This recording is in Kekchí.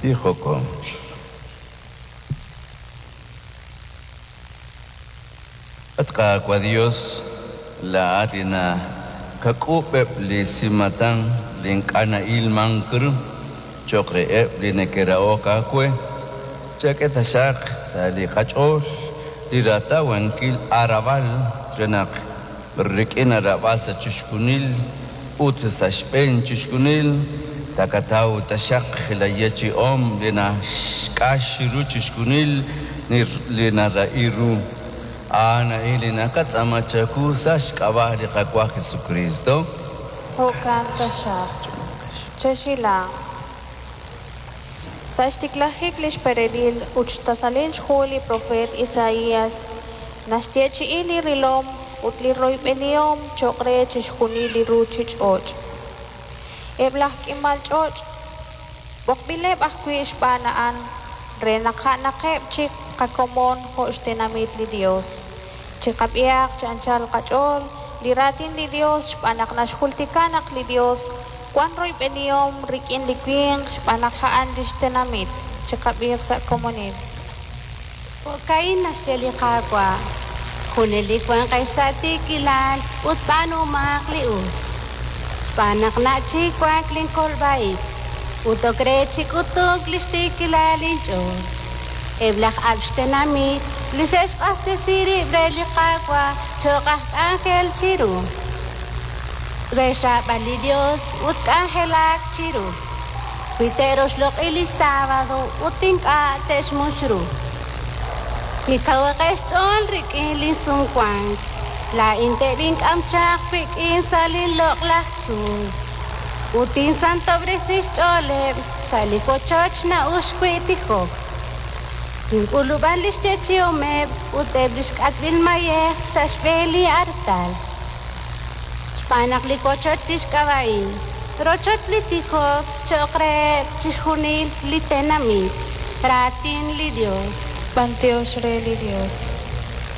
Tijoko. At Qaawa' Dios, laa'at li nakak'uub'eb' li simatan li ink'a' na'ilmank ru cho'q reheb' li neke'rahok aawe, chak'e taxaq sa' li qach'ool li ratawankil aarab'al re naq rik'in aarab'al sa' chixjunil ut sa' xb'een chixjunil taqataw taxaq laayeechi'om li naxq'ax ru chixjunil li narahi ru. A'an a'in li naqatz'aama chawu sa' xk'ab'a' li Qaawa' Jesucristo. Jo'kan taxaq. Chexhilanq. Sa' xtiklajik lix perelil ut xtasalil xhu li profeet Isaias, naxyeechi'i li rilom ut li royb'enihom choq' re chixjunil li ruchich'och'. Eb' laj k'imal ch'och' b'oqb'ileb' ajwi' xb'aan a'an re naq a'anaqeb' chik qakomon jo' xtenamit li Dios. Chiqab'ihaq chi anchal qach'ool li raatin li Dios xb'aan naq naxjultika naq li Dios wan royb'enihom rik'in li winq xb'aan naq a'an lix tenamit. Chiqab'iiq sa' komonil. Jo'ka'in naxye li Qaawa', Junelik wanqex sa' tiikilal ut b'aanumaq li us. Xb'aan naq nach' chik wank linkolb'a ib' ut ok re chi k'utunk li xtiikilal inch'ool. Eb' laj ab'l xtenamit li xe'xq'axtesi rib' re li Qaawa' cho'q aj k'anjel chiru, re xraab'al li Yos ut k'anjelak chiru, wi te'roxloq'i li sábado ut ink'a' te'xmux ru. Wi kawaqeb' xch'ool rik'in linsumwank, laa'in teb'ink'am chaq wik'in sa' linloq'laj tzuul ut tinsantob'resi xch'ooleb' sa' li wochoch na'uxk wi' tijok. Tink'ulub'an li xyeechi'omeb' ut eb' li xk'atb'il mayej sa' xb'een li artal. Xb'aan naq li wochoch tixk'ab'a'in Rochoch li tijok cho'q reheb' chixjunil li tenamit. Raatin li Yos. B'anyox re li Dios.